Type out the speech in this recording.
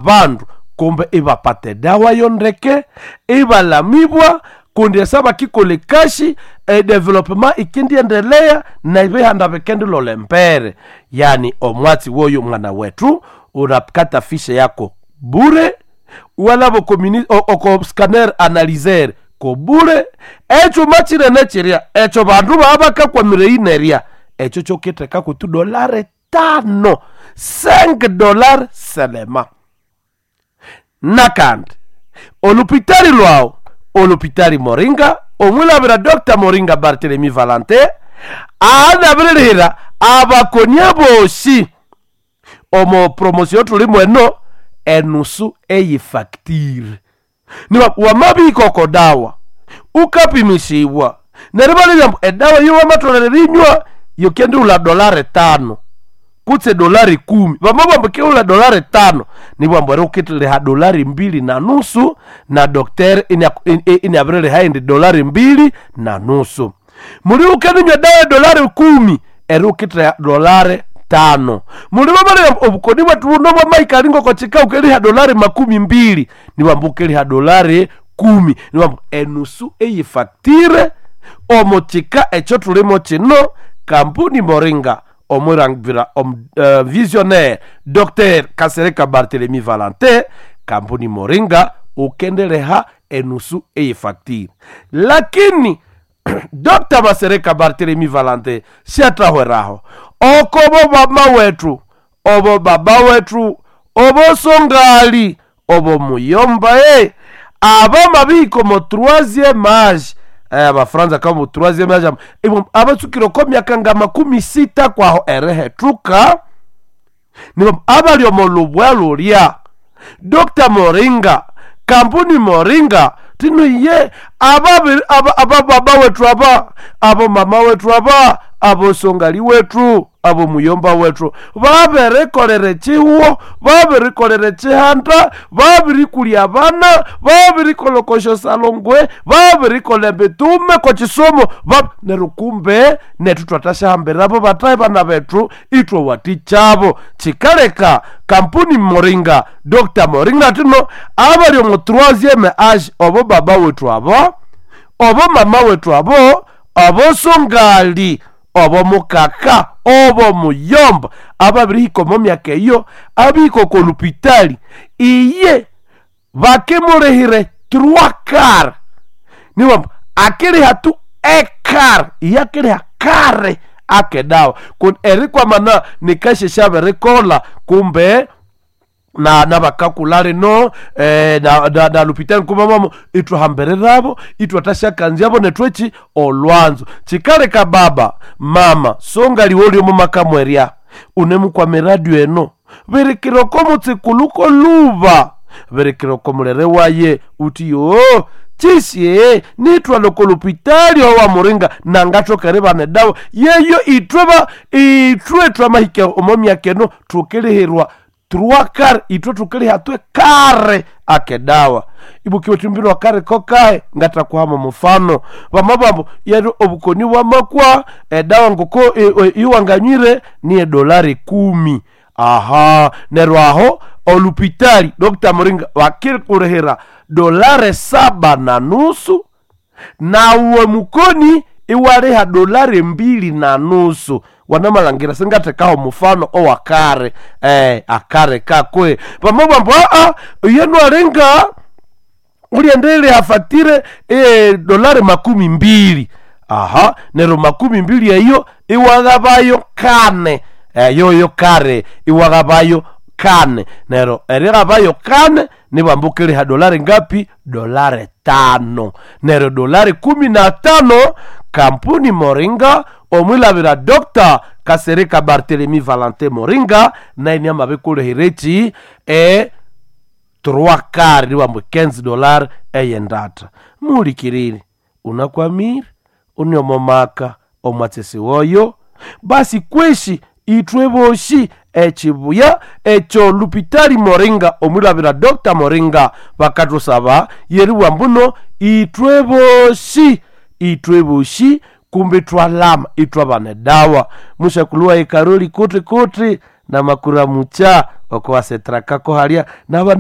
Bandu kumbe ibapata edawa yondeke, ibalamibwa kundi esa bakikolha ekashi edevelopment ikendiendelea nebihanda bikendilolha embere. Yani omwatsi woyo mwana wethu unakata fishe yako bure, walaba oko scanner analyzer kobure. Ekyuma kinene kirya ekyo bandu baba bakakwamira eyi nerya, ekyo kyokithekaku tu dolari tano, $5 selema. Nakandi olupitali lwawu, olupitali Moringa, omwilabira Dr. Moringa Barthelemy Valentin anabirilihira abakonia bosi omo promotion thulimu eno enusu eyifactire. Niba wamabihika oko dawa ukapimisibwa neryo ibalebya ambu edawa eyo wamatholere erinywa yokendighulha $5 kutse $10. Bamabugha ambu ikighulha $5 nibugha ambu eri wukithiliha $2.50 na docteur iniabiriliha eyindi $2.50. Muli wukendinywa edawa ya $10 eri wukithiliha $5. Muli bamalebya ambu obukoni bwethu buno bwamahika ngoko kika wukeriha $20 nibugha ambu wukeriha $10. Nibugha ambu enusu eyifactire omo kika ekyo thulimo kino kampuni Moringa omwirangira visionnaire Dr. Kasereka Barthelemy Valentin, kampuni Moringa ukendeleha enusu eyifactire. Lakini Dr. Masereka Barthelemy Valentin siathahweraho okobo mama wethu, obo baba wethu, obo songali, obo muyomba abamabihika omo troisième age. Abafaransa kamo troisième age abatsukire oko myaka nga 60 kwaho erihethuka, nibo abali omo lubwa lulya. Dr. Moringa, kampuni Moringa tino ye aba baba wethu aba, abo mama wethu aba, abo songali wethu, abo muyomba wethu babirikolera ekihuho, babirikolera ekihanda, babirikulya abana, babirikolha oko syosalongwe, babirikolha emitume ko kisomo, neryo kumbe nethu thwathasyahambirabo bathahi bana bethu ithwawathikyabo. Kikaleka kampuni Moringa, Dr. Moringa thino abali omo troisième age, obo baba wethu abo, obo mama wethu abo, obo songali, obo mukaka, obo muyomba ababirihika omo myaka eyo, abihika oko lupitali iye bakimulihire trois quarts. Nibugha ambu akiriha tu equart, iye akiriha kare akedawa kundi erikwamana nikashe syabirikolha kumbe na nabakakulha lino na lupitali nkumamamo ithwahambirirabo ithwathasyakanzyabo nethu eki olwanzo. Kikaleka baba mama songali woli omo maka mwerya unemukwama eradio eno birikira oko mutsikuluko luba, birikira oko mulere waye uthi yo kyisye nithwalha oko lupitali owa Moringa nangathoka eribana edawa yeyo ithwe thwamahika omo myaka eno thukilihirwa trois quarts, ithwe thukiliha twe kare akedawa. Ibukiwe thumbirwa kare kokahe ngathakuhama mufano bamabambo yeri obukoni bwamakwa edawa ngoko iwanganywire niye $10. Aha, neryo aho olupitali Dr. Moringa bakirikulihira $7.50 nawe mukoni iwaliha $2.50. Wanamalhangira singathekaho mufano owakare akare kakwe bamabambo iye nwalinga uliendelea fatire $20. Aha, neryo makumi mbili eyo iwaghabayo kane, yoyo kare iwaghabayo kane, neryo erighabayo kane nibwamba ukiliha dolari ngapi? $5. Neryo $15 kampuni Moringa omwilabira Dr. Kasereka Barthelemy Valentin Moringa naye amabirikulihira eki trois quarts nibwamba $15 eyendatha. Muhulikirire unakwamire une omo maka omwatsesi woyo basi kweshi ithwe boshi ekibuya ekyo lupitali Moringa omwilabira Dr. Moringa bakathusaba yeribugha mbuno ithwe boshi, ithwe boshi kumbe ithwalama ithwabana edawa. Mushakulhuwa ekaroli kuti kuti na makura mucha. Oko asetrakako halya.